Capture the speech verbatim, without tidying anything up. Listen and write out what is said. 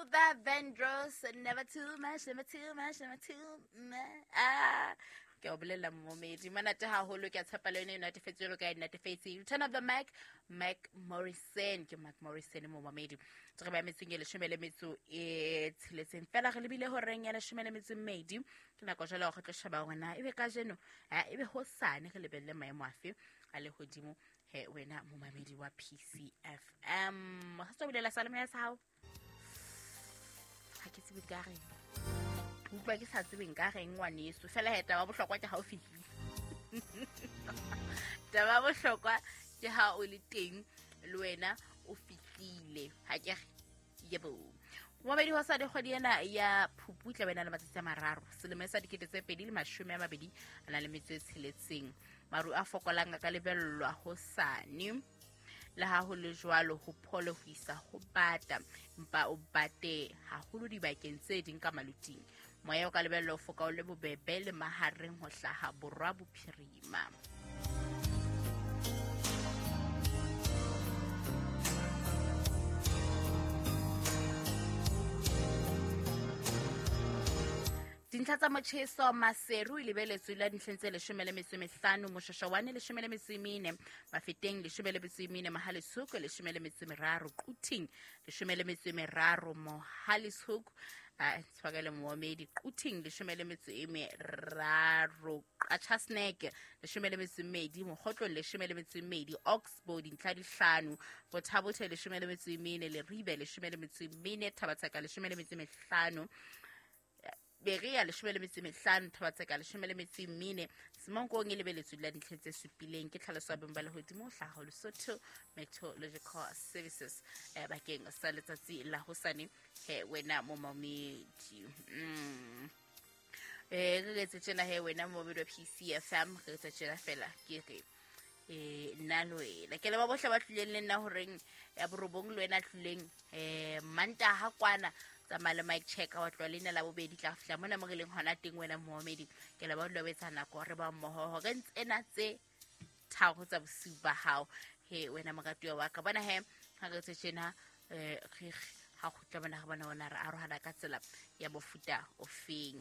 Luther Vandross, never too much, never too much, never too much. Ah, ke o bolela momedi monate haholo, ke a tshepa le yone e natefetse jwalo ka e natefetse. Return of the Mac, Mac Morrison, ke Mac Morrison momamedi. Re ba metseng e leshome le metso e tsheletseng fela, re lebile horeng ya leshome le metso e mmedi. Ke nako jwale go tlo sheba hore na ebe kajeno, ebe hosane re lebelle maemo afe a lehodimo he wena momamedi wa P C F M. Ha tswa bulela salome ya sa hao. Ha ke tsebe ka reng. Utlwa ke sa tsebeng ka reng ngwaneso. Fela he taba bohlokwa ke ha o fihlile. Taba bohlokwa ke ha o le teng le wena o fihlile. Ha ke re yebo. Momamedi wa sa dikgwedi ena ya Phupu tla bena le matsatsi a mararo. Selemo sa dikete tse pedi le mashome a mabedi a na le metso e tsheletseng. Maru a fokolang a ka lebellwa hosane. Le ha ho le jwalo ho phole ho isa ho bata, empa o bate haholo dibakeng tse ding ka maluting. Moya o ka lebellwa ho foka o le bobebe le mahareng ho hlaha borwa bophirima. Dintlha tsa motjheso Maseru e lebeletswe la dintlheng tse leshome le metso e mehlano, Moshashawane leshome le metso e mene, Mafeteng leshome le metso e mene, Mohale'shoek leshome le metso e meraro, Quthing leshome le metso e meraro, Mohale'shoek a tshwakele moomedi, Quthing leshome le metso e meraro, Qacha's Nek leshome le metso e mmedi, Mokgotlong leshome le metso e mmedi, Oxbow dintlha di hlano, Bothabothe leshome le metso e mene, Leribe leshome le metso e mene, Thabatseka leshome le metso e mehlano, Berea leshome le metso e mehlano, Thabatseka leshome le metso e mene, Semonkong e lebeletswe la dintlha tse supileng. Ke tlhaloso ya beng ba lehodimo hlaho Lesotho Meteorological Services eh, bakeng sa letsatsi la hosane he wena momamedi. Mm. Eh, re etse tjena he wena momamedi wa P C F M, re etse tjena fela ke re eh nna le wena ke le ba bohle ba tlileng le nna horeng ya borobong le wena tlileng eh Mantaha kwana tsamaya le mic check wa tloha leina la bobedi tla fihla mona mo re leng hona teng wena momamedi. Ke le ba dula etsa nako re ba mmoho hore tsena tse tharo tsa bosiu ba hao he wena moratuwa wa ka. Bona he ha re tse tjena eh re ha kgutla bona re bona ona re arohana ka tsela ya mofuta ofeng.